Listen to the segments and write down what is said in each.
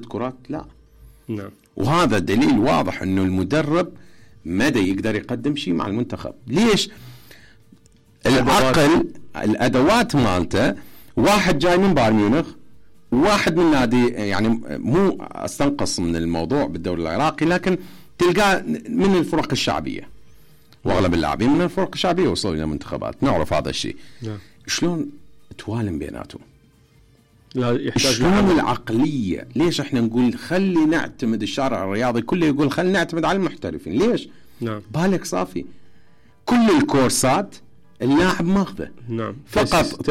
كرات لا. نعم. وهذا دليل واضح انه المدرب مدى يقدر يقدم شيء مع المنتخب. ليش؟ العقل الادوات مالته، واحد جاي من بايرن ميونخ، واحد من نادي، يعني مو استنقص من الموضوع بالدوري العراقي، لكن تلقاه من الفرق الشعبيه، واغلب اللاعبين من الفرق الشعبيه وصلوا الى منتخبات، نعرف هذا الشيء. نعم. شلون توالم بيناتهم؟ لا يحتاج شلون العقليه؟ ليش احنا نقول خلي نعتمد الشارع الرياضي كله يقول خلي نعتمد على المحترفين؟ ليش؟ نعم. بالك صافي كل الكورسات اللاعب ماخذه. نعم. فقط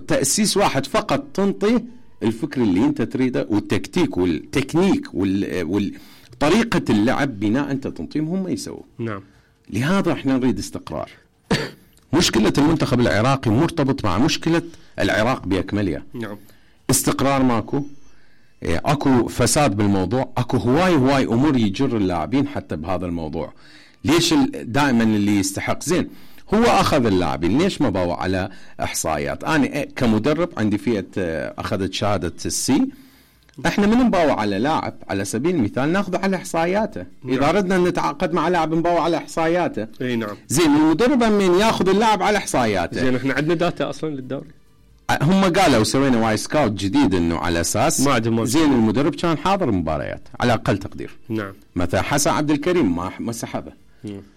تأسيس واحد فقط، تنطي الفكر اللي انت تريده والتكتيك والتكنيك وطريقة اللعب بناء انت تنطيهم هم يسووا. نعم. لهذا احنا نريد استقرار. مشكلة المنتخب العراقي مرتبط مع مشكلة العراق بأكملها. نعم. استقرار ماكو، اكو فساد بالموضوع، اكو هواي امور يجر اللاعبين حتى بهذا الموضوع. ليش دائما اللي يستحق زين هو اخذ اللاعبين؟ ليش ما باوع على احصائيات؟ انا كمدرب عندي فئه اخذت شهاده السي، احنا من نباوع على لاعب على سبيل المثال ناخذه على احصائياته. نعم. اذا ردنا نتعاقد مع لاعب نباوع على احصائياته. اي نعم. زين المدرب من ياخذ اللاعب على احصائياته. زين احنا عندنا داتا اصلا للدوري. هم قالوا سوينا واي سكاوت جديد انه على اساس ما عندهم. زين المدرب كان حاضر مباريات على اقل تقدير. نعم. مثلا حسن عبد الكريم ما سحبه.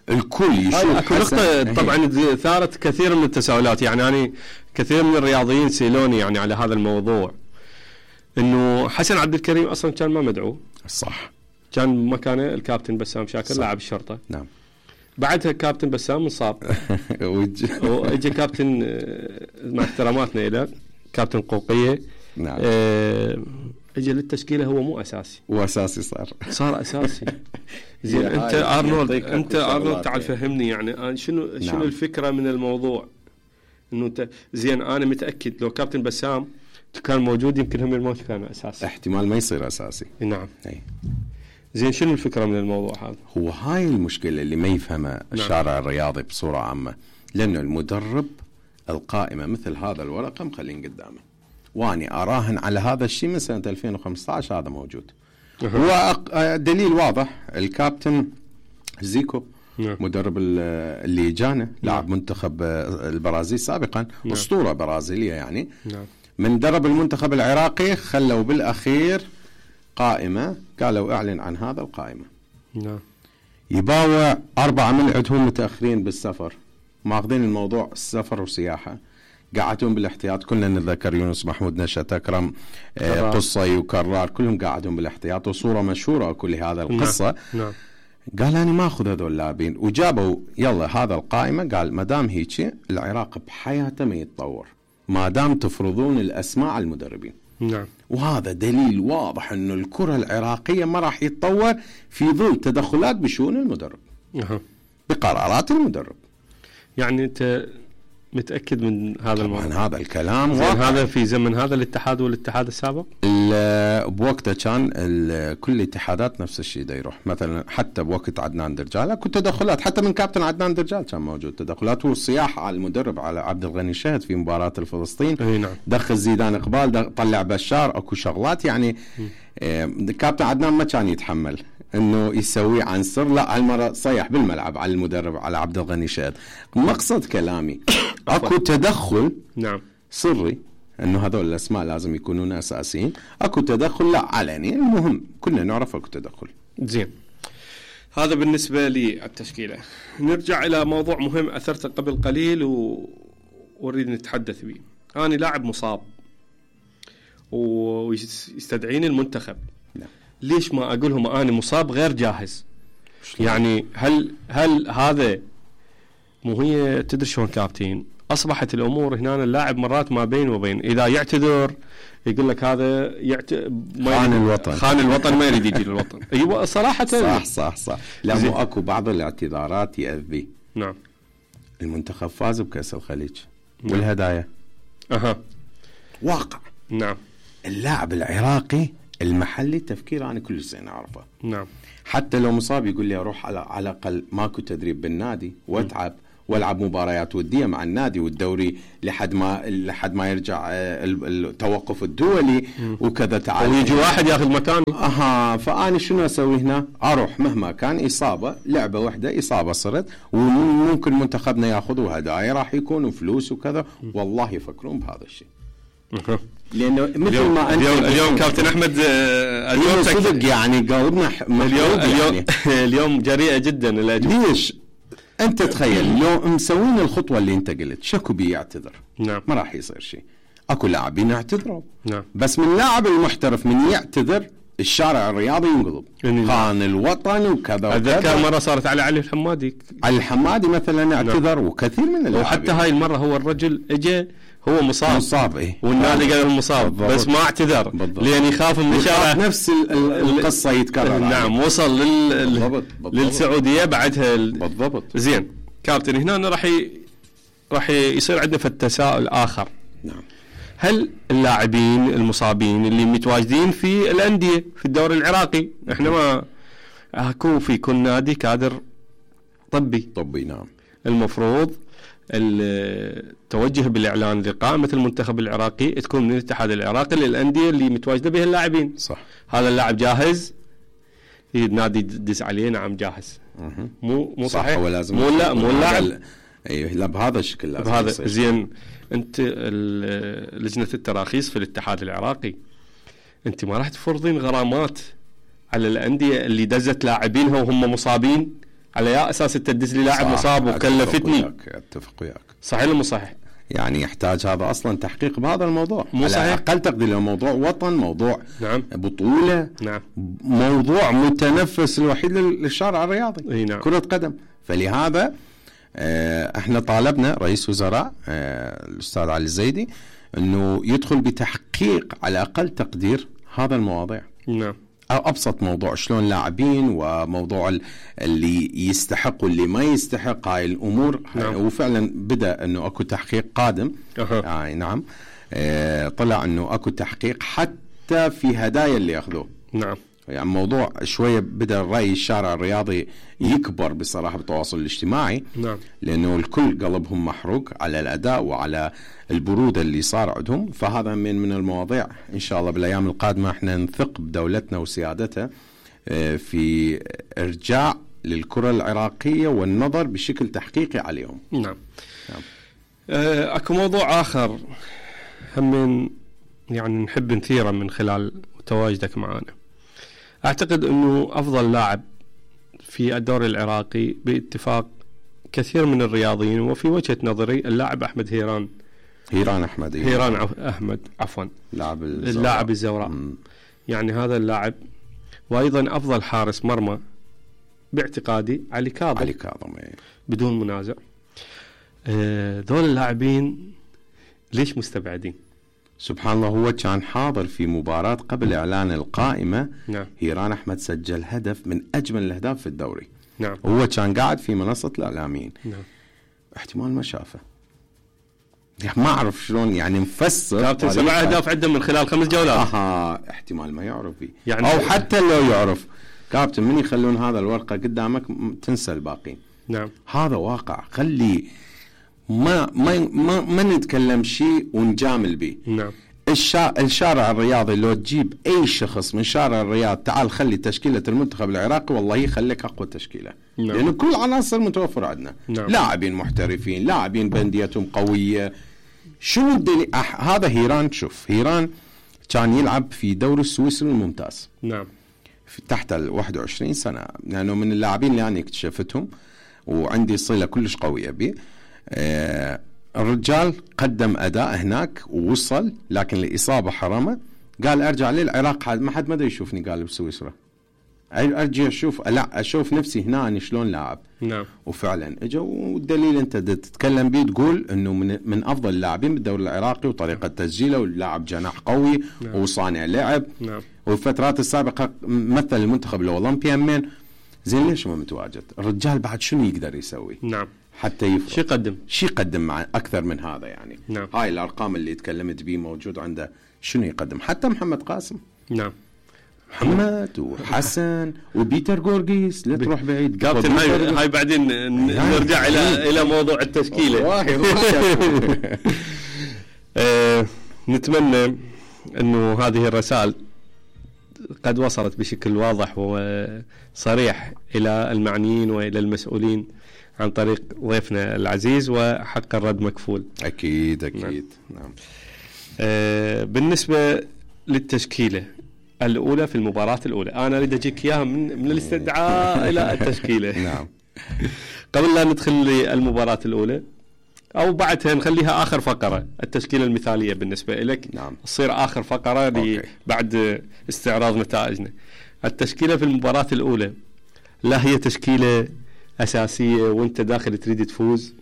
الكل يشوف نقطة طبعا ثارت كثير من التساؤلات، يعني أنا كثير من الرياضيين سألوني يعني على هذا الموضوع، إنه حسن عبد الكريم أصلا كان ما مدعو. صح. كان مكانه الكابتن بسام شاكر لاعب الشرطة. نعم. بعدها كابتن بسام انصاب واجى كابتن مع احتراماتنا إلى كابتن قوقية. نعم. اجى للتشكيله هو مو اساسي، واساسي صار اساسي. زين انت ارنولد تعال فهمني يعني شنو نعم. الفكره من الموضوع؟ انه انت زين انا متاكد لو كابتن بسام كان موجود يمكن هم ما كان اساسي، احتمال ما يصير اساسي. نعم. أي. زين شنو الفكره من الموضوع هذا؟ هو هاي المشكله اللي ما يفهمها الشارع الرياضي بصوره عامه، لانه المدرب القائمه مثل هذا الورقه مخلين قدامه، واني اراهن على هذا الشيء من سنه 2015 هذا موجود. هو دليل واضح الكابتن زيكو. نعم. مدرب اللي جانا لاعب منتخب البرازيل سابقا. نعم. اسطوره برازيليه يعني. نعم. من درب المنتخب العراقي خلوا بالاخير قائمه، قالوا اعلن عن هذا القائمه. نعم. يباوع 4 من عندهم متاخرين بالسفر، ماخذين الموضوع السفر وسياحه، قاعدون بالاحتياط. كلنا نتذكر يونس محمود، نشأت أكرم، قصي وكرار، كلهم قاعدون بالاحتياط، وصورة مشهورة كل هذا القصة. نعم. قال أنا ما أخذ هذول اللاعبين، وجابوا يلا هذا القائمة. قال ما دام هيك العراق بحياته ما يتطور ما دام تفرضون الأسماء على المدربين. نعم. وهذا دليل واضح إنه الكرة العراقية ما راح يتطور في ظل تدخلات بشؤون المدرب. بقرارات المدرب. يعني أنت متأكد من هذا الموضوع؟ هذا الكلام هذا في زمن هذا الاتحاد والاتحاد السابق؟ بوقته كان كل الاتحادات نفس الشيء دا يروح. مثلا حتى بوقت عدنان درجال اكو تدخلات، حتى من كابتن عدنان درجال كان موجود تدخلات، والصياح على المدرب على عبد الغني الشهد في مباراة الفلسطين. نعم. دخل زيدان اقبال، طلع بشار، اكو شغلات يعني. كابتن عدنان ما كان يتحمل انه يسوي عن سر، لا هالمره صيح بالملعب على المدرب على عبد الغني شهد. مقصد كلامي اكو تدخل. نعم. سري انه هذول الاسماء لازم يكونون اساسيين، اكو تدخل لا علني، المهم كلنا نعرف اكو تدخل. زين هذا بالنسبه للتشكيله. نرجع الى موضوع مهم اثرته قبل قليل واريد نتحدث به. انا لاعب مصاب ويستدعيني المنتخب. نعم. ليش ما اقول لهم انا مصاب غير جاهز؟ يعني هل هذا مو هي تدري شلون كابتن اصبحت الامور هنا اللاعب مرات ما بين وبين، اذا يعتذر يقول لك هذا خان الوطن ما يريد يجي للوطن. ايوه صراحه. صح. لا مو اكو بعض الاعتذارات يأذي. نعم. المنتخب فاز بكأس الخليج. نعم. والهدايا واقع. نعم. اللاعب العراقي المحلي تفكير انا كل سنه اعرفه. نعم. حتى لو مصاب يقول لي اروح على الاقل ماكو تدريب بالنادي واتعب والعب مباريات وديه مع النادي والدوري لحد ما يرجع التوقف الدولي وكذا. تعال ويجي واحد ياخذ مكاني. فأنا شنو اسوي هنا؟ اروح مهما كان اصابه، لعبه واحده اصابه صرت، وممكن منتخبنا ياخذوا هدايا راح يكونوا فلوس وكذا. والله يفكرون بهذا الشيء. لانه مثل ما انت اليوم كابتن احمد اليوم صدق يعني قلبنا اليوم جريئه جدا. ليش؟ انت تخيل لو مسوين الخطوه اللي انت قلت، شكو بيعتذر؟ نعم. ما راح يصير شيء. اكو لاعبين يعتذروا. نعم. بس من لاعب المحترف من يعتذر الشارع الرياضي ينقلب. خان الوطن وكذا. اتذكر مره صارت على علي الحمادي. علي الحمادي مثلا اعتذر. نعم. وكثير من اللاعبين. وحتى هاي المره هو الرجل اجى هو مصاب إيه؟ والنادي قال مصاب بس ما اعتذر لان يخاف من الشارع نفس القصه يتكرر. نعم. وصل للسعوديه بعدها بالضبط. زين كابتن هنا راح يصير عندنا التساؤل اخر. نعم. هل اللاعبين المصابين اللي متواجدين في الانديه في الدوري العراقي، احنا ما اكو في كل نادي كادر طبي نعم، المفروض التوجه بالاعلان لقائمه المنتخب العراقي تكون من الاتحاد العراقي للانديه اللي متواجده بها اللاعبين. صح. هذا اللاعب جاهز النادي دز عليه نعم جاهز. مو صحيح. مو اللاعب ايوه لا بهذا الشكل لازم بهذا زين. انت لجنه التراخيص في الاتحاد العراقي انت ما راح تفرضين غرامات على الانديه اللي دزت لاعبينها وهم مصابين على يا اساس تدز لي لاعب مصاب وكلفتني؟ اتفق وياك. صحيح ولا مو صحيح؟ يعني يحتاج هذا اصلا تحقيق بهذا الموضوع. مو صحيح. على اقل تقدير موضوع وطن، موضوع نعم. بطوله، نعم. موضوع متنفس الوحيد للشارع الرياضي. نعم. كرة قدم. فلهذا احنا طالبنا رئيس وزراء الاستاذ علي الزيدي انه يدخل بتحقيق على اقل تقدير هذا المواضيع. نعم. ابسط موضوع شلون لاعبين وموضوع اللي يستحق واللي ما يستحق هاي الامور. نعم. وفعلا بدا انه اكو تحقيق قادم. يعني نعم. طلع انه اكو تحقيق حتى في هدايا اللي ياخذوه. نعم. يعني موضوع شويه بدا الراي الشارع الرياضي يكبر بصراحه بالتواصل الاجتماعي. نعم. لانه الكل قلبهم محروق على الاداء وعلى البروده اللي صار عندهم. فهذا من المواضيع ان شاء الله بالايام القادمه احنا نثق بدولتنا وسيادتها في ارجاع للكره العراقيه والنظر بشكل تحقيقي عليهم. نعم. نعم. اكو موضوع اخر هم يعني نحب نثيره من خلال تواجدك معنا. أعتقد أنه أفضل لاعب في الدوري العراقي باتفاق كثير من الرياضيين وفي وجهة نظري اللاعب أحمد هيران أحمد عفوا اللاعب الزوراء. يعني هذا اللاعب. وأيضا أفضل حارس مرمى باعتقادي علي كاظم بدون منازع. دول اللاعبين ليش مستبعدين؟ سبحان الله. هو كان حاضر في مباراة قبل إعلان القائمة. نعم. هيران أحمد سجل هدف من أجمل الأهداف في الدوري. نعم. هو كان قاعد في منصة الإعلاميين. نعم. احتمال ما شافه. ما أعرف شلون يعني مفسر. كابتن 7 أهداف عنده من خلال 5 جولات. احتمال ما يعرف بي. يعني أو حتى لو يعرف كابتن من يخلون هذا الورقة قدامك تنسى الباقين. نعم. هذا واقع. خلي ما نتكلم شيء ونجامل به. نعم. الشارع الرياضي لو تجيب اي شخص من شارع الرياض تعال خلي تشكيلة المنتخب العراقي والله يخليك اقوى تشكيلة. نعم. لانه كل عناصر متوفرة عندنا. نعم. لاعبين محترفين، لاعبين بنديتهم قوية. شو الدليل؟ هذا هيران. شوف هيران كان يلعب في دوري السويسري الممتاز. نعم. تحت 21 سنة. لانه من اللاعبين اللي انا اكتشفتهم وعندي صلة كلش قوية به. الرجال قدم أداء هناك ووصل، لكن الإصابة حرمه. قال أرجع للعراق ما حد مدري يشوفني قال بسويسرا. أرجع أشوف نفسي هنا أنا شلون لاعب. نعم. وفعلا إجا. والدليل أنت تتكلم بيه تقول إنه من أفضل اللاعبين بالدوري العراقي وطريقة تسجيله واللاعب جناح قوي. نعم. وصانع لعب. نعم. والفترات السابقة مثل المنتخب الأولمبي من زين. ليش ما متواجد الرجال؟ بعد شنو يقدر يسوي؟ نعم. حتى يفرق. شي يقدم مع أكثر من هذا يعني. نعم. هاي الأرقام اللي تكلمت بيه موجود عنده. شنو يقدم؟ حتى محمد قاسم. نعم. محمد وحسن وبيتر جورجيس، لا تروح بعيد كابتن. هاي بعدين نرجع الى موضوع التشكيله. نتمنى انه هذه الرسائل قد وصلت بشكل واضح وصريح الى المعنيين والى المسؤولين عن طريق ضيفنا العزيز، وحق الرد مكفول. اكيد اكيد. نعم. بالنسبه للتشكيله الاولى في المباراه الاولى، انا اريد اجيك اياها من الاستدعاء الى التشكيله. نعم. قبل لا ندخل للمباراه الاولى او بعدها نخليها اخر فقره، التشكيله المثاليه بالنسبه لك. نعم. تصير اخر فقره بعد استعراض نتائجنا. التشكيله في المباراه الاولى لا هي تشكيله اساسيه وانت داخل تريد تفوز،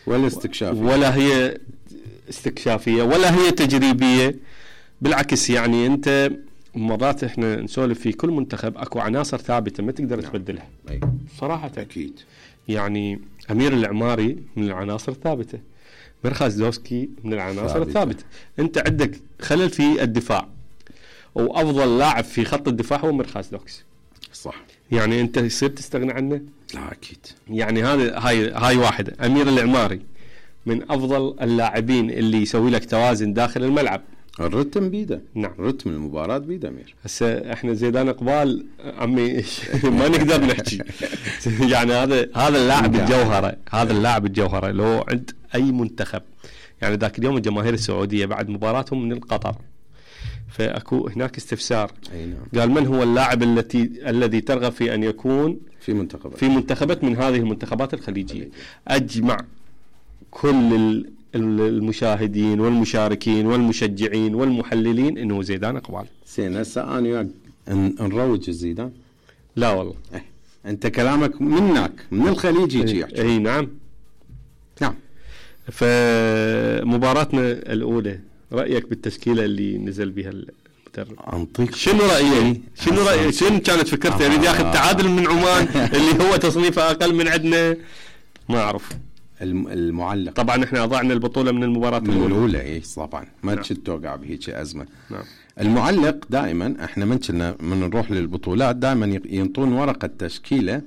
ولا استكشافيه، ولا هي استكشافيه، ولا هي تجريبيه. بالعكس، يعني انت مرات احنا نسولف في كل منتخب اكو عناصر ثابته ما تقدر تبدلها. صراحه اكيد. يعني امير العماري من العناصر الثابته، مرخاز دوسكي من العناصر الثابته. انت عندك خلل في الدفاع، وافضل لاعب في خط الدفاع هو مرخاز دوسكي. صح. يعني انت يصير تستغنى عنه؟ لا اكيد. يعني هاي واحدة. امير العماري من افضل اللاعبين اللي يسوي لك توازن داخل الملعب. الرتم بيده. نعم. رتم المباراة بيده امير. هسه احنا زيدان اقبال عمي ما نقدر نحكي. يعني هذا اللاعب الجوهرة، هذا اللاعب الجوهرة لو عند اي منتخب. يعني ذاك اليوم الجماهير السعودية بعد مباراتهم من القطر، فاكو هناك استفسار. نعم. قال من هو اللاعب الذي ترغب في ان يكون في منتخبات من هذه المنتخبات الخليجية؟ اجمع كل المشاهدين والمشاركين والمشجعين والمحللين انه زيدان اقبال. زين، هسه انا نروج الزيدان؟ لا والله. انت كلامك منك من الخليج يجي يحكي. اي نعم. نعم. فمباراتنا الاولى، رايك بالتشكيله اللي نزل بها المدرب؟ انطيك شنو رايك؟ شنو كانت فكرته؟ يريد ياخذ تعادل من عمان اللي هو تصنيفه اقل من عندنا، ما اعرف. المعلق طبعا احنا اضعنا البطوله من المباراه الاولى. اي طبعا ما توقع بهيك ازمه. نعم. المعلق دائما احنا من نروح للبطولات دائما ينطون ورقه تشكيله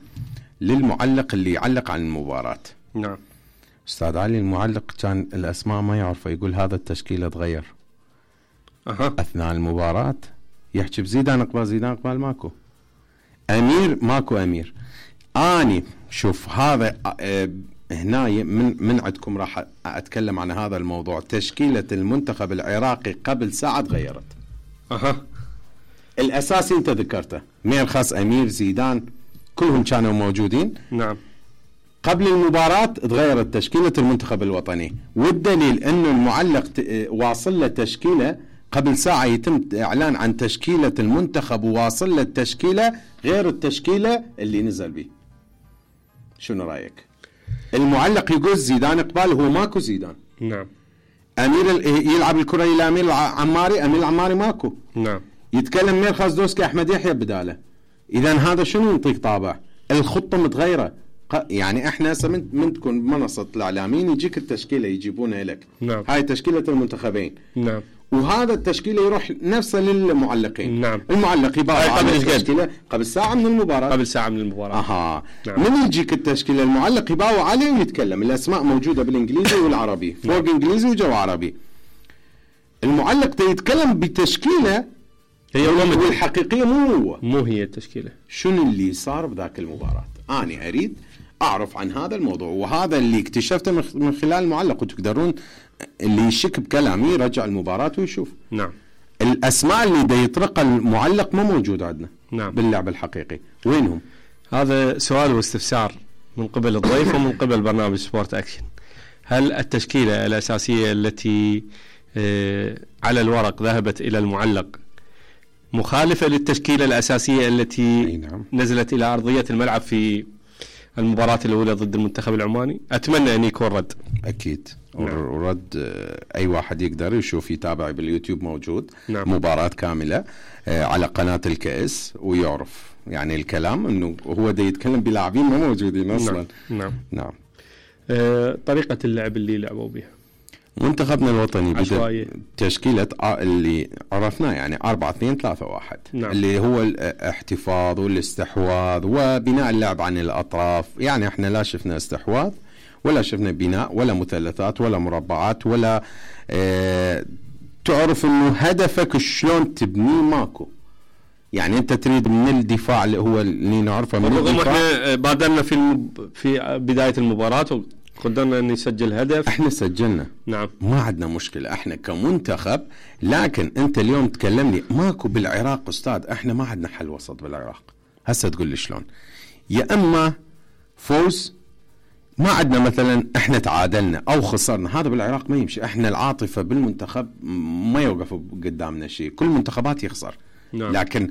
للمعلق اللي يعلق عن المباراه. نعم. استاذ علي المعلق كان الاسماء ما يعرفه، يقول هذا التشكيله تغير اثناء المباراه، يحكي بزيدان اقبال، زيدان اقبال ماكو، امير ماكو امير. اني شوف هذا هنا من عندكم راح اتكلم عن هذا الموضوع. تشكيله المنتخب العراقي قبل ساعه تغيرت. الاساسي انت ذكرته، مرخاز، امير، زيدان، كلهم كانوا موجودين. نعم. قبل المباراة تغيرت تشكيلة المنتخب الوطني، والدليل انه المعلق واصل له تشكيلة قبل ساعة، يتم اعلان عن تشكيلة المنتخب وواصل له التشكيلة غير التشكيلة اللي نزل به. شنو رأيك؟ المعلق يقول زيدان اقبال، هو ماكو زيدان. نعم. امير يلعب الكرة الى امير العماري، امير العماري ماكو. نعم. يتكلم مرخاز دوسكي، احمد يحيى بداله. اذا هذا شنو ينطيك طابع؟ الخطة متغيرة. يعني احنا من تكون بمنصة الاعلاميين يجيك التشكيلة يجيبونها لك. نعم. هاي تشكيلة المنتخبين. نعم. وهذا التشكيلة يروح نفسه للمعلقين. نعم. المعلق يباوع على التشكيلة قبل ساعة من المباراة. قبل ساعة من المباراة. نعم. من يجيك التشكيلة المعلق يباوع عليه ويتكلم، الاسماء موجودة بالانجليزي والعربي، فوق انجليزي وجو عربي. المعلق يتكلم بتشكيلة هي والحقيقية مو هي التشكيلة. شنو اللي صار بذاك المباراة؟ أنا أريد أعرف عن هذا الموضوع، وهذا اللي اكتشفته من خلال المعلق. وتقدرون اللي يشك بكلامي يرجع المباراة ويشوف. نعم. الأسماء اللي دا يطرق المعلق ما موجودة عندنا. نعم. باللعب الحقيقي وينهم؟ هذا سؤال واستفسار من قبل الضيف ومن قبل برنامج سبورت أكشن. هل التشكيلة الأساسية التي على الورق ذهبت إلى المعلق مخالفة للتشكيلة الأساسية التي نعم. نزلت إلى أرضية الملعب في المباراة الأولى ضد المنتخب العماني؟ أتمنى أن يكون رد. أكيد. نعم. ورد أي واحد يقدر يشوف، يتابع باليوتيوب موجود. نعم. مباراة كاملة على قناة الكأس ويعرف يعني الكلام أنه هو دا يتكلم بلاعبين ما موجودين أصلا. نعم. نعم. طريقة اللعب اللي لعبوا بها منتخبنا الوطني عشوائية. بدأ تشكيلة اللي عرفناه يعني 4-2-3-1 نعم. اللي هو الاحتفاظ والاستحواذ وبناء اللعب عن الأطراف. يعني احنا لا شفنا استحواذ ولا شفنا بناء ولا مثلثات ولا مربعات ولا تعرف انه هدفك شلون تبنيه ماكو. يعني انت تريد من الدفاع اللي هو اللي نعرفه من الدفاع. احنا بادرنا في بداية المباراة وقدرنا ان نسجل هدف. احنا سجلنا. نعم. ما عندنا مشكلة احنا كمنتخب. لكن انت اليوم تكلمني ماكو بالعراق استاذ. احنا ما عندنا حل وسط بالعراق. هسه تقول لي شلون؟ يا اما فوز، ما عندنا مثلا احنا تعادلنا او خسرنا، هذا بالعراق ما يمشي. احنا العاطفة بالمنتخب ما يوقف قدامنا شيء، كل المنتخبات يخسر. نعم. لكن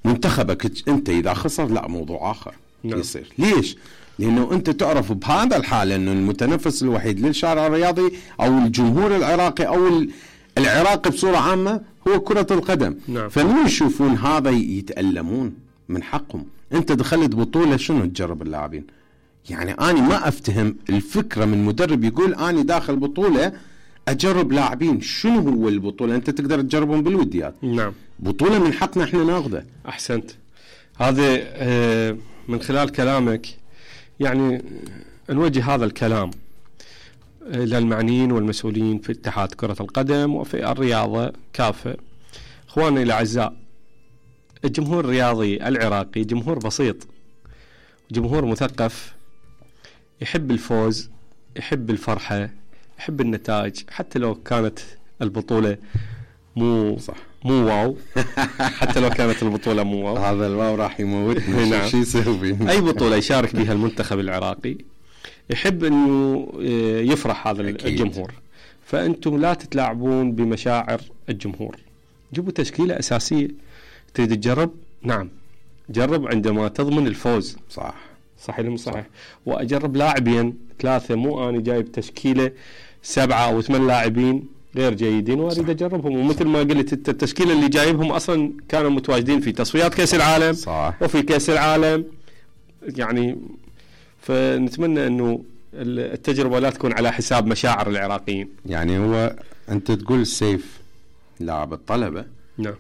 منتخبك انت اذا خسر لا موضوع اخر. نعم. يصير. ليش؟ لانه انت تعرف بهذا الحال انه المتنفس الوحيد للشارع الرياضي او الجمهور العراقي او العراقي بصورة عامة هو كرة القدم. نعم. فمن يشوفون هذا يتألمون من حقهم. انت دخلت بطولة شنو تجرب اللاعبين؟ يعني أنا ما أفتهم الفكرة من مدرب يقول أنا داخل بطولة أجرب لاعبين. شنو هو البطولة؟ أنت تقدر تجربهم بالوديات. نعم. بطولة من حقنا إحنا ناخذه. أحسنت. هذا من خلال كلامك يعني نوجه هذا الكلام للمعنيين والمسؤولين في اتحاد كرة القدم وفي الرياضة كافة. إخواني الأعزاء، الجمهور الرياضي العراقي جمهور بسيط، جمهور مثقف، يحب الفوز، يحب الفرحة، يحب النتائج، حتى لو كانت البطولة مو واو. حتى لو كانت البطولة مو واو، هذا الواو راح يموتنا. نعم. شو يسوي؟ أي بطولة يشارك بها المنتخب العراقي يحب أنه يفرح هذا أكيد. الجمهور. فأنتم لا تتلاعبون بمشاعر الجمهور. جيبوا تشكيلة أساسية. تريد تجرب؟ نعم جرب عندما تضمن الفوز. صح. صحيح مو صحيح؟ وأجرب لاعبين 3، مو أنا جايب تشكيلة 7 أو 8 لاعبين غير جيدين وأريد أجربهم. ومثل ما قلت التشكيلة اللي جايبهم أصلا كانوا متواجدين في تصفيات كأس العالم. صح. وفي كأس العالم. يعني فنتمنى أنه التجربة لا تكون على حساب مشاعر العراقيين. يعني هو أنت تقول سيف لاعب الطلبة. نعم.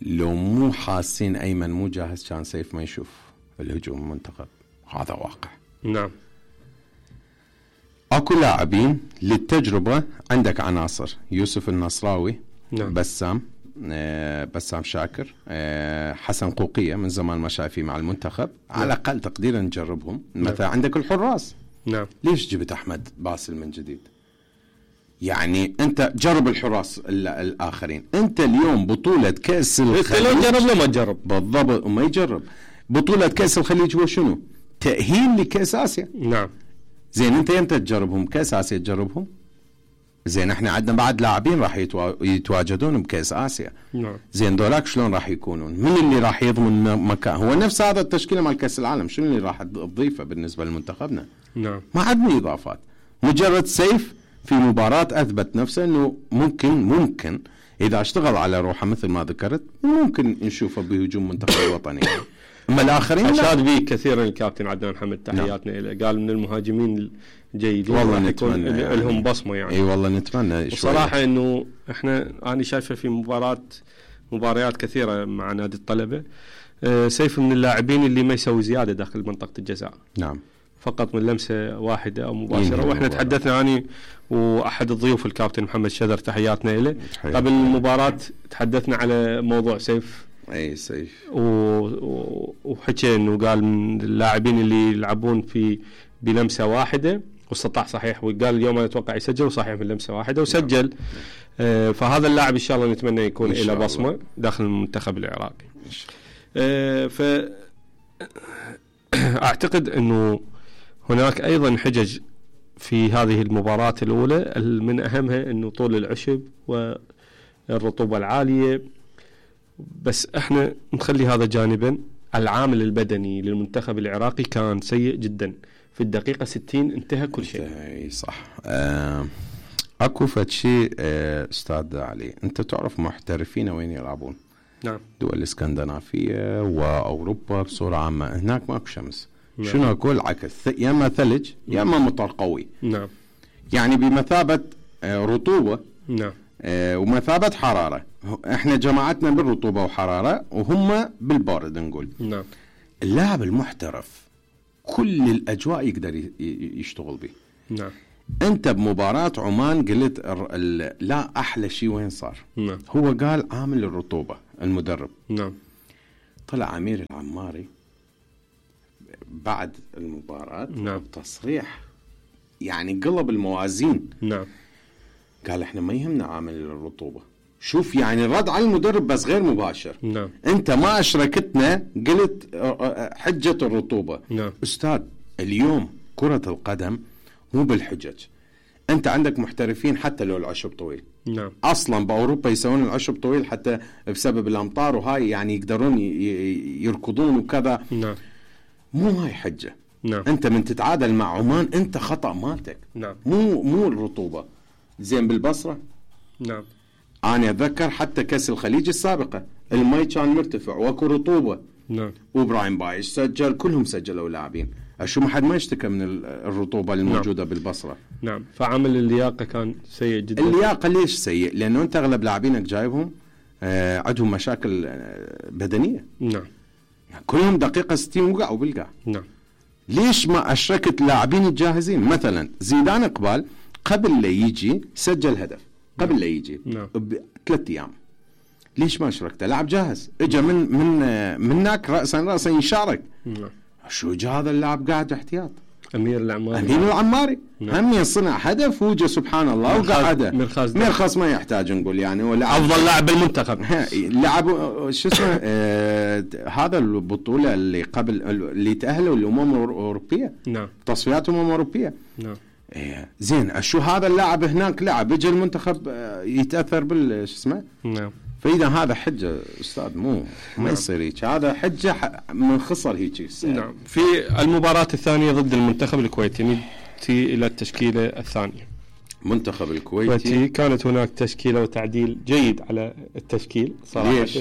لو مو حاسين أيمن مو جاهز كان سيف ما يشوف الهجوم المنتخب. هذا واقع. نعم. اكو لاعبين للتجربة. عندك عناصر يوسف النصراوي. نعم. بسام شاكر، حسن قوقية من زمان ما شايفيه مع المنتخب. نعم. على الأقل تقديرا نجربهم. نعم. مثلا عندك الحراس. نعم. ليش جبت أحمد باسل من جديد؟ يعني أنت جرب الحراس الآخرين. أنت اليوم بطولة كأس الخليج. لو جرب لو ما تجرب. بالضبط. وما يجرب. بطولة كأس الخليج هو شنو؟ تأهيل لكأس آسيا. نعم. زين انت يمتى تجربهم؟ كأس آسيا تجربهم؟ زين احنا عندنا بعد لاعبين راح يتواجدون بكأس آسيا. نعم. زين دولاك شلون راح يكونون؟ من اللي راح يضمن مكان؟ هو نفس هذا التشكيلة مال كأس العالم. شنو اللي راح تضيفه بالنسبة لمنتخبنا؟ نعم. ما عندنا إضافات. مجرد سيف في مباراة أثبت نفسه انه ممكن إذا اشتغل على روحه مثل ما ذكرت ممكن نشوفه بهجوم منتخب الوطني. اما الاخرين اشاد به كثيرا الكابتن عدنان حمد، تحياتنا له. قال من المهاجمين الجيدين والله راح نتمنى يكون يعني. لهم بصمه يعني. اي والله نتمنى. بصراحه انه انا شايفه في مباريات كثيره مع نادي الطلبه. سيف من اللاعبين اللي ما يسوي زياده داخل منطقه الجزاء. نعم. فقط من لمسه واحده او مباشره. واحنا تحدثنا اني واحد الضيوف الكابتن محمد شذر، تحياتنا له. قبل المباراه تحدثنا على موضوع سيف. اي سيف. وحكى انه قال من اللاعبين اللي يلعبون في بلمسه واحده واستطاع صحيح. وقال اليوم انا اتوقع يسجل وصحيح من لمسه واحده وسجل. فهذا اللاعب ان شاء الله نتمنى يكون له بصمه داخل المنتخب العراقي. ف اعتقد انه هناك ايضا حجج في هذه المباراة الاولى، من اهمها انه طول العشب والرطوبة العالية. بس احنا نخلي هذا جانبا. العامل البدني للمنتخب العراقي كان سيء جدا. في الدقيقة 60 انتهى كل شيء. اي صح. اكو فد شيء استاذ علي، انت تعرف محترفين وين يلعبون؟ نعم. دول الاسكندنافية واوروبا بصورة عامة. هناك ماكو شمس. نعم. شنو اقول؟ عكس، يا اما ثلج يا اما مطر قوي. نعم. يعني بمثابة رطوبة نعم ومثابة حرارة. احنا جماعتنا بالرطوبة وحرارة وهم بالبارد نقول. نعم. اللاعب المحترف كل الأجواء يقدر يشتغل به. نعم. انت بمباراة عمان قلت لا احلى شيء وين صار؟ نعم. هو قال عامل الرطوبة المدرب. نعم. طلع أمير العماري بعد المباراة نعم. بتصريح يعني قلب الموازين. نعم. قال احنا ما يهمنا عامل الرطوبة. شوف يعني رد على المدرب بس غير مباشر. نعم. انت ما اشركتنا قلت حجة الرطوبة. نعم. استاذ اليوم كرة القدم مو بالحجج. انت عندك محترفين حتى لو العشب طويل. نعم. اصلا باوروبا يسوون العشب طويل حتى بسبب الامطار وهاي يعني يقدرون يركضون وكذا. نعم. مو هاي حجة. نعم. انت من تتعادل مع عمان انت خطأ مالتك. نعم. مو الرطوبة. زين بالبصرة نعم. انا اتذكر حتى كاس الخليج السابقة المي كان مرتفع واكو رطوبة. نعم. وابراهيم بايش سجل كلهم سجلوا لاعبين. شو ما حد ما يشتكى من الرطوبة الموجودة. نعم. بالبصرة. نعم. فعمل اللياقة كان سيء جدا. اللياقة ليش سيء؟ لأنه أنت أغلب لاعبينك جايبهم عندهم مشاكل بدنية. نعم. يعني كلهم دقيقة 60 وقعوا بالقاع. نعم. ليش ما أشركت لاعبين الجاهزين؟ مثلا زيدان إقبال قبل لا يجي سجل هدف قبل لا يجي. نعم. ب3 أيام. ليش ما أشركته؟ لاعب جاهز إجا منك رأسا يشارك. نعم. شو جا هذا اللاعب قاعد احتياط؟ أمير العماري نعم. هم صنع هدف وجه سبحان الله وقعده. مرخص ما يحتاج نقول يعني ولا أفضل لاعب بالمنتخب. لعب شو اسمه هذا البطولة اللي قبل اللي تأهلوا الأمم الأوروبية. نعم. تصفيات أمم أوروبية. نعم. زين شو هذا اللاعب هناك لعب يجي المنتخب يتأثر شو اسمه. نعم. فإذا هذا حجة أستاذ ما يصير هيك. هذا حجة من خسر هيك. نعم. في المباراة الثانية ضد المنتخب الكويتي نأتي إلى التشكيلة الثانية. منتخب الكويتي كانت هناك تشكيلة وتعديل جيد على التشكيل صراحة. ليش؟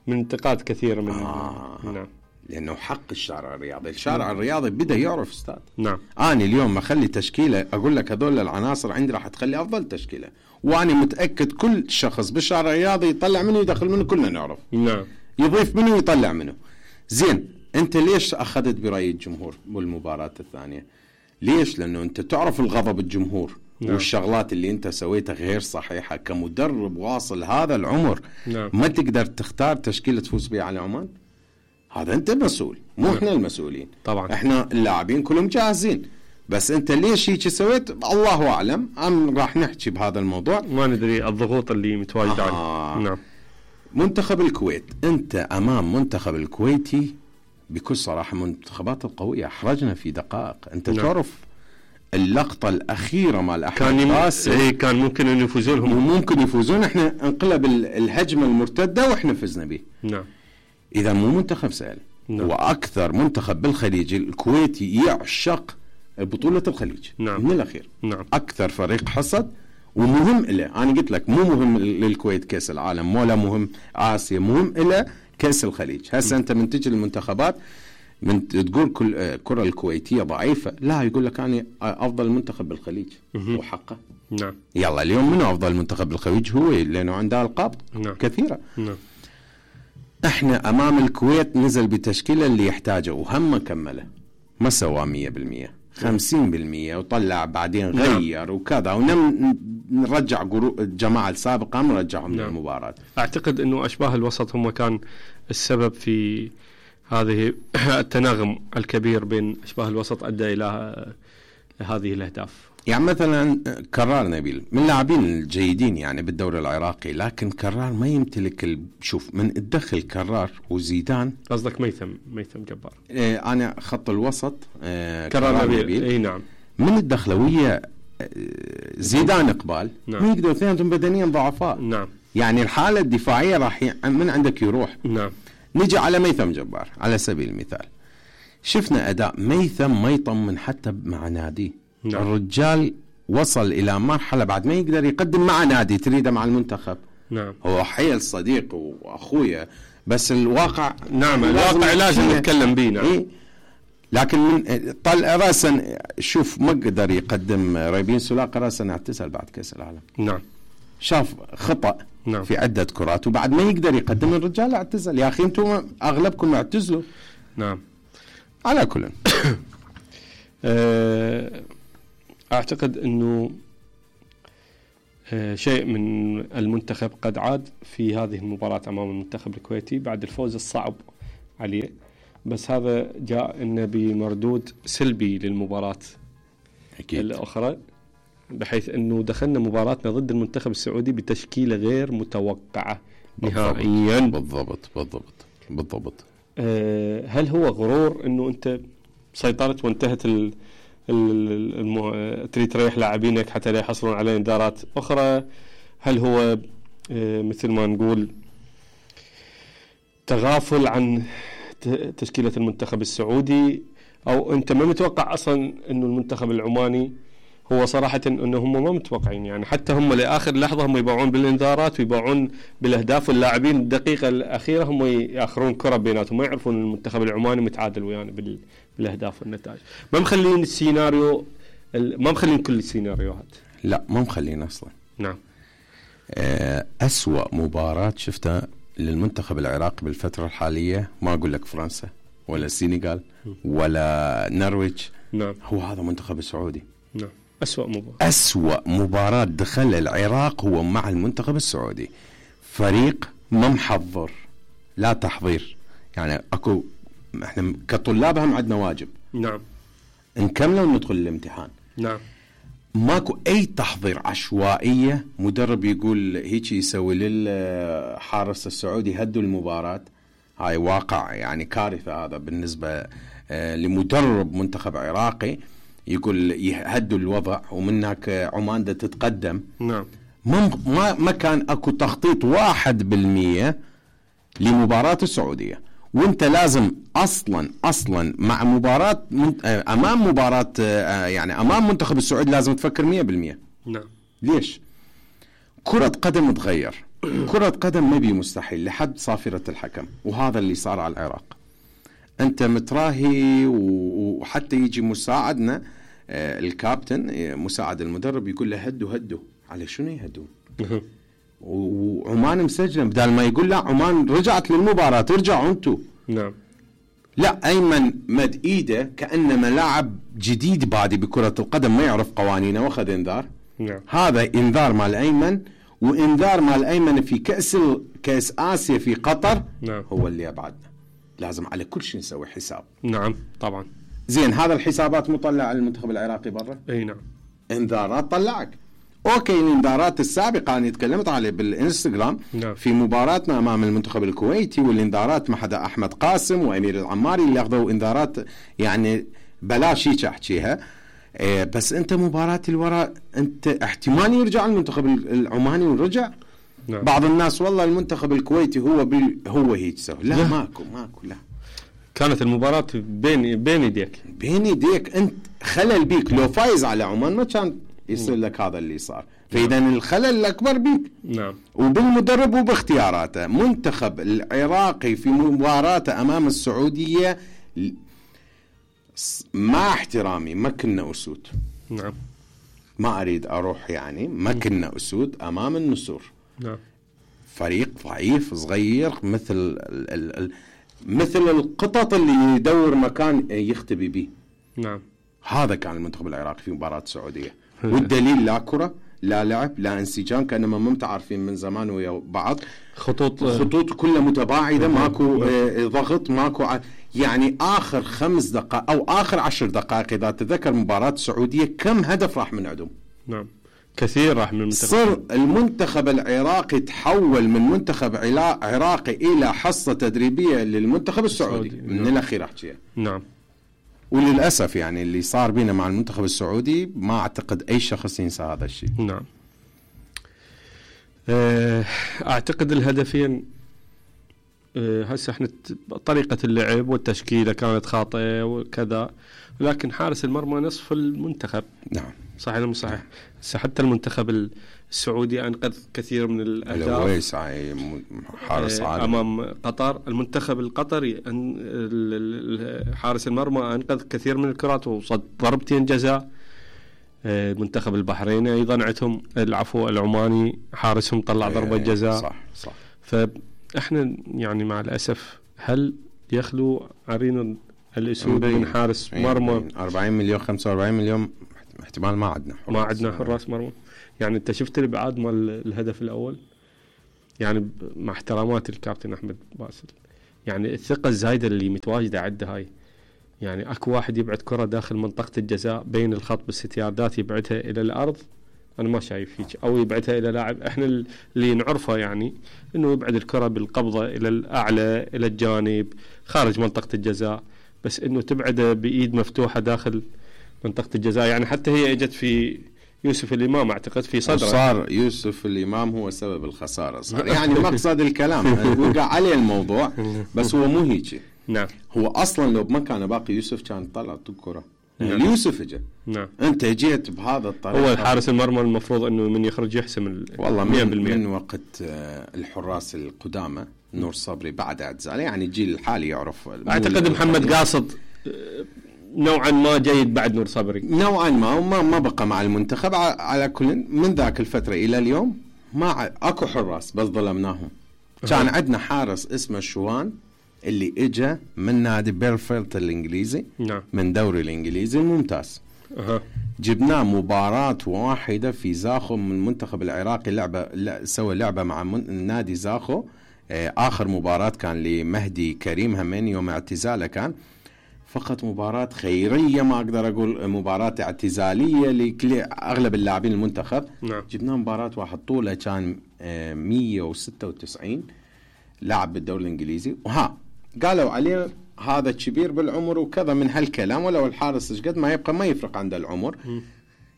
من انتقاد كثير من نعم. لأنه حق الشارع الرياضي. الشارع الرياضي بدأ يعرف أستاذ. نعم. أنا اليوم أخلي تشكيلة أقول لك هذول العناصر عندي راح تخلي أفضل تشكيلة. وأنا متأكد كل شخص بالشارع الرياضي يطلع منه يدخل منه كلنا نعرف. نعم. يضيف منه يطلع منه. زين أنت ليش أخذت برأي الجمهور بالمباراة الثانية؟ ليش؟ لأنه أنت تعرف الغضب الجمهور. نعم. والشغلات اللي أنت سويتها غير صحيحة كمدرب واصل هذا العمر. نعم. ما تقدر تختار تشكيلة تفوز بها على عمان. هذا أنت مسؤول مو نعم. إحنا المسؤولين. طبعا إحنا اللاعبين كلهم جاهزين بس أنت ليش هيك سويت الله أعلم. راح نحكي بهذا الموضوع ما ندري الضغوط اللي متواجدة عليه. نعم. منتخب الكويت أنت أمام منتخب الكويتي بكل صراحة منتخبات القوية أحرجنا في دقائق. أنت نعم. تعرف اللقطة الأخيرة مع الأحمد كان ممكن أن يفوزون هم. ممكن يفوزون. إحنا انقلب الهجمة المرتدة وإحنا فزنا به. نعم. إذا مو منتخب سهل. نعم. وأكثر منتخب بالخليج الكويتي يعشق بطولة الخليج. نعم. من الأخير. نعم. أكثر فريق حصد ومهم إله. أنا قلت لك مو مهم للكويت كأس العالم ولا مهم آسيا مهم إله كأس الخليج. هسه أنت من تجي المنتخبات من تقول كل الكرة الكويتية ضعيفة لا يقول لك أنا أفضل منتخب بالخليج. وحقه. نعم. يلا اليوم منو أفضل منتخب بالخليج هو لأنه عنده ألقاب. نعم. كثيرة. نعم. احنا امام الكويت نزل بتشكيله اللي يحتاجه وهم كمله ما سوى 100% 50% وطلع بعدين غير وكذا ونرجع الجماعه السابقه نرجعهم نعم. للمباراه. اعتقد انه اشباه الوسط هم كان السبب في هذه التناغم الكبير بين اشباه الوسط ادى الى هذه الاهداف. يعني مثلا كرار نبيل من اللاعبين الجيدين يعني بالدوري العراقي لكن كرار ما يمتلك شوف من تدخل كرار وزيدان. قصدك ميثم جبار. انا خط الوسط كرار نبيل. اي نعم. من الدخلويه زيدان إقبال. نعم. ما يقدروا اثنينهم بدنيا ضعفاء. نعم. يعني الحالة الدفاعية راح من عندك يروح. نعم. نجي على ميثم جبار على سبيل المثال شفنا أداء ميثم ما يطمن حتى مع نادي. نعم. الرجال وصل إلى مرحلة بعد ما يقدر يقدم مع نادي تريده مع المنتخب. نعم. هو حيل صديق وأخويا بس الواقع نعم الواقع لازم نتكلم به. نعم. إيه؟ لكن من طلع راسا شوف ما قدر يقدم ريبين سولاقة راسا اعتزل بعد كأس العالم. نعم. شاف خطأ نعم. في عدة كرات وبعد ما يقدر يقدم الرجال اعتزل. يا أخي أنتم أغلبكم اعتزلوا. نعم. على كل أعتقد أنه شيء من المنتخب قد عاد في هذه المباراة أمام المنتخب الكويتي بعد الفوز الصعب عليه، بس هذا جاء إنه بمردود سلبي للمباراة أكيد. الأخرى، بحيث أنه دخلنا مباراتنا ضد المنتخب السعودي بتشكيلة غير متوقعة نهائيا. بالضبط. هل هو غرور أنه أنت سيطرت وانتهت تريد تريح لاعبينك حتى لا يحصلون على انذارات أخرى؟ هل هو مثل ما نقول تغافل عن تشكيلة المنتخب السعودي، أو أنت ما متوقع أصلا أنه المنتخب العماني؟ هو صراحة أنه هم ما متوقعين، يعني حتى هم لآخر لحظة هم يباعون بالإنذارات ويباعون بالأهداف، واللاعبين الدقيقة الأخيرة هم يأخرون كرة بيناتهم، ما يعرفون المنتخب العماني متعادل ويانا بالأهداف والنتائج. ما مخلين السيناريو، ما مخلين كل السيناريوهات. لا ما مخلين أصلا. نعم. أسوأ مباراة شفتها للمنتخب العراقي بالفترة الحالية، ما أقول لك فرنسا ولا السنغال ولا نرويج. نعم. هو هذا منتخب السعودي. نعم. أسوأ مباراة دخل العراق هو مع المنتخب السعودي. فريق ما محضر، لا تحضير، يعني اكو احنا كطلاب هم عندنا واجب. نعم. نكمله وندخل الامتحان. نعم. ماكو اي تحضير، عشوائية. مدرب يقول هيك يسوي للحارس السعودي هدوا المباراة. هاي واقع يعني كارثة هذا بالنسبة لمدرب منتخب عراقي، يقول يهدوا الوضع ومن هناك عمان دا تتقدم. نعم. ما كان اكو تخطيط 1% لمباراة السعودية، وانت لازم اصلا مع مباراة امام مباراة يعني امام منتخب السعودي لازم تفكر 100%. نعم. ليش؟ كرة قدم تغير. كرة قدم ما بي مستحيل لحد صافرة الحكم، وهذا اللي صار على العراق. انت متراهي وحتى يجي مساعدنا الكابتن مساعد المدرب يقول له هدوا. على شنو يهدون؟ وعمان مسجله، بدال ما يقول لا عمان رجعت للمباراة ارجعوا انتوا. نعم. لا، ايمن مد ايده كانما لاعب جديد بادي بكرة القدم ما يعرف قوانينه واخذ انذار. نعم. هذا انذار مال ايمن، وانذار مال ايمن في كأس آسيا في قطر. نعم. هو اللي ابعدنا. لازم على كل شيء نسوي حساب. نعم طبعا. زين، هذا الحسابات مطلع على المنتخب العراقي برا. اي نعم. انذارات طلعك. اوكي، الانذارات السابقه انا تكلمت عليه بالانستغرام. نعم. في مباراتنا امام المنتخب الكويتي، والانذارات مع حدا احمد قاسم وامير العماري اللي اخذوا انذارات يعني بلاش هيك احكيها. بس انت مباراه الوراء انت احتمال يرجع المنتخب العماني ورجع. نعم. بعض الناس والله المنتخب الكويتي هو هيك سوى. لا ماكو لا. كانت المباراة بين يديك انت خلل بيك. لو فايز على عمان ما كان يصير لك هذا اللي صار. فإذا الخلل الأكبر بيك. نعم. وبالمدرب وباختياراته. منتخب العراقي في مباراته أمام السعودية مع احترامي ما كنا أسود. نعم. ما أريد أروح يعني، ما كنا أسود أمام النسور. نعم. فريق ضعيف صغير مثل القطط اللي يدور مكان يختبي به. نعم. هذا كان المنتخب العراقي في مباراة السعودية. والدليل لا كرة، لا لعب، لا انسجام، كانما ما متعارفين من زمان ويا بعض. خطوط كلها متباعدة، ماكو ضغط، ماكو يعني آخر 5 دقائق أو آخر 10 دقائق إذا تذكر مباراة السعودية كم هدف راح من عندهم. نعم كثير راح من المنتخب. صار المنتخب العراقي تحول من منتخب عراقي إلى حصة تدريبية للمنتخب السعودي. من نعم. الأخير أحكيها. نعم. وللأسف يعني اللي صار بينا مع المنتخب السعودي ما أعتقد أي شخص ينسى هذا الشيء. نعم. أعتقد الهدفين هسه احنا طريقة اللعب والتشكيلة كانت خاطئة وكذا، لكن حارس المرمى نصف المنتخب. نعم. صحيح ولا مو صحيح؟ حتى المنتخب السعودي أنقذ كثير من الأهداف. الهويس حارس عالمي أمام قطر. المنتخب القطري حارس المرمى أنقذ كثير من الكرات وصد ضربتين جزاء. المنتخب البحريني أيضا عندهم العماني حارسهم طلع ضربة جزاء. صح. فإحنا يعني مع الأسف هل يخلو عرين الأسود من حارس مرمى؟ 40 مليون 45 مليون احتمال ما عندنا حراس مرمى. يعني أنت شفت الابعاد مال الهدف الأول، يعني مع احترامات الكابتن أحمد باسل، يعني الثقة الزايدة اللي متواجدة عنده هاي. يعني أكو واحد يبعد كرة داخل منطقة الجزاء بين الخط بالستياردات يبعدها إلى الأرض، أنا ما شايف هيك، أو يبعدها إلى لاعب إحنا اللي نعرفه يعني إنه يبعد الكرة بالقبضة إلى الأعلى إلى الجانب خارج منطقة الجزاء، بس إنه تبعده بإيد مفتوحة داخل منطقة الجزاء. يعني حتى هي اجت في يوسف الإمام أعتقد في صدره، صار يوسف الإمام هو سبب الخسارة صار يعني مقصد الكلام وقع عليه الموضوع، بس هو مو هيك. نعم. هو أصلا لو ما كان باقي يوسف كان طلعت الكرة. نعم. يوسف اجى. نعم. أنت جيت بهذا الطريقة. هو الحارس المرمى المفروض إنه من يخرج يحسم والله من وقت الحراس القدامى نور صبري بعد اعتزاله، يعني الجيل الحالي يعرف. أعتقد محمد قاصد نوعا ما جيد بعد نور صبري نوعا ما بقى مع المنتخب. على كل من ذاك الفترة إلى اليوم ما أكو حراس بس ظلمناهم. كان عندنا حارس اسمه شوان اللي اجى من نادي بيرفيلد الإنجليزي. نعم. من دوري الإنجليزي الممتاز. جبناه مباراة واحدة في زاخو من المنتخب العراقي، سوى لعبة مع نادي زاخو. آخر مباراة كان لمهدي كريم همين يوم اعتزاله، كان فقط مباراة خيرية، ما أقدر أقول مباراة اعتزالية لأغلب اللاعبين المنتخب. نعم. جبناه مباراة واحد طوله كان 196 لاعب بالدوري الإنجليزي، قالوا عليه هذا كبير بالعمر وكذا من هالكلام، ولو الحارس قد ما يبقى ما يفرق عند العمر.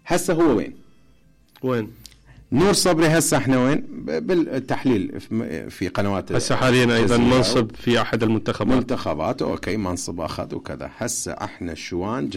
هسه هو وين نور صبري؟ هسه احنا وين بالتحليل في قنوات هسه حاليا ايضا منصب في احد المنتخبات. اوكي منصب اخذ وكذا. هسه احنا شوان